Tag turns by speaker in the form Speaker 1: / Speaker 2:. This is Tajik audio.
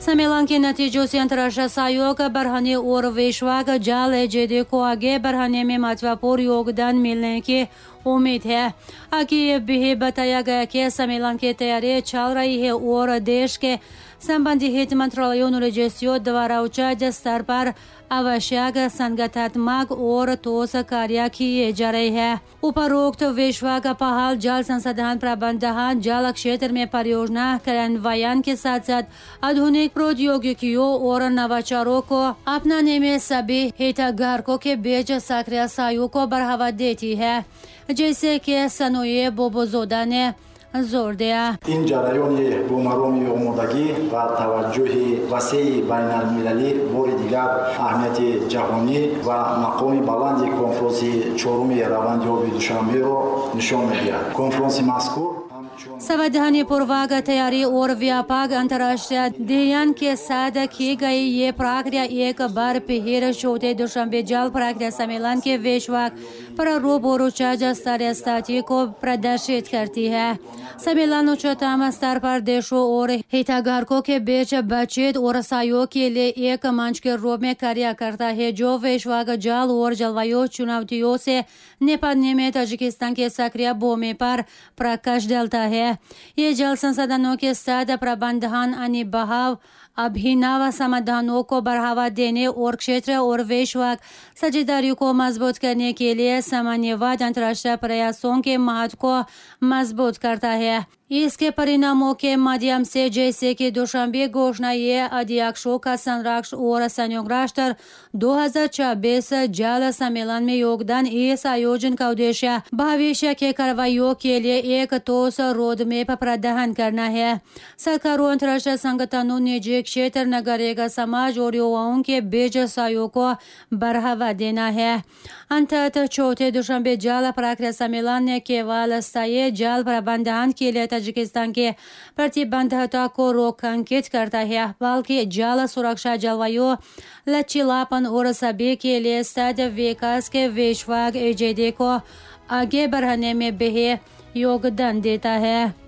Speaker 1: सम्मेलन के नतीजों से अंतर्राष्ट्रीय सहयोग बढ़ाने और वैश्विक जल एजेंडे को आगे बढ़ाने में महत्वपूर्ण योगदान मिलने की उम्मीद है। आगे ये भी बताया गया कि सम्मेलन की तैयारी चल रही है और देश के संबंधित मंत्रालयों और एजेंसियों द्वारा उच्च स्तर पर आवश्यक संगठनात्मक और ठोस कार्य किए जा रहे हैं। उपरोक्त वैश्विक पहल जल संसाधन प्रबंधन, जल क्षेत्र में परियोजना कार्यान्वयन के साथ साथ आधुनिक प्रौद्योगिकियों और नवाचारों को अपनाने में सभी हितधारकों के बीच सक्रिय सहयोग को बढ़ावा देती है, जैसे कि सनोए बोबोजोदा ने जोर दिया।
Speaker 2: Ин ҷараёни бо мароми омодагӣ ва таваҷҷӯҳи васеи байналмилалӣ бори дигар аҳамияти ҷаҳонӣ ва мақоми баланди конфронси чоруми раванди оби Душанберо нишон медиҳад. Конфронси мазкур
Speaker 1: संवैधानिक पूर्वक तैयारी और व्यापक अंतर्राष्ट्रीय अध्ययन के साथ की गई ये प्रक्रिया एक बार फिर चौथे दुशांबे जल प्रक्रिया सम्मेलन के वैश्विक प्रारूप और उच्च स्तरीय स्थिति को प्रदर्शित करती है। सम्मेलन उच्चतम स्तर पर देशों और हितधारकों के बीच बातचीत और सहयोग के लिए एक मंच के रूप में कार्य करता है, जो वैश्विक जल और जलवायु चुनौतियों से निपटने में ताजिकिस्तान के सक्रिय भूमि पर प्रकाश डालता है। ये जल संसाधनों के साथ प्रबंधन, अनिभाव, अभिनव समाधानों को बढ़ावा देने और क्षेत्र और वैश्विक साझेदारी को मजबूत करने के लिए समन्वयित अंतर्राष्ट्रीय प्रयासों के महत्व को मजबूत करता है। इसके परिणामों के माध्यम से, जैसे कि दुशांबे घोषणा, ये अध्यक्षों का संरक्षण और संयुक्त राष्ट्र 2026 जल सम्मेलन में योगदान। इस आयोजन का उद्देश्य भविष्य के कार्रवाइयों के लिए एक ठोस रोडमैप प्रदान करना है। सरकारों, अंतर्राष्ट्रीय संगठनों, निजी क्षेत्र, नागरिक समाज और युवाओं के बीच सहयोग को बढ़ावा देना है। अंततः चौथे दुशांबे जल प्रक्रिया सम्मेलन ने केवल स्थायी जल प्रबंधन के लिए ताजिकिस्तान के प्रतिबद्धता को रेखांकित करता है, बल्कि जल सुरक्षा, जलवायु लचीलापन और सभी के लिए सतत विकास के वैश्विक एजेंडे को आगे बढ़ाने में भी योगदान देता है।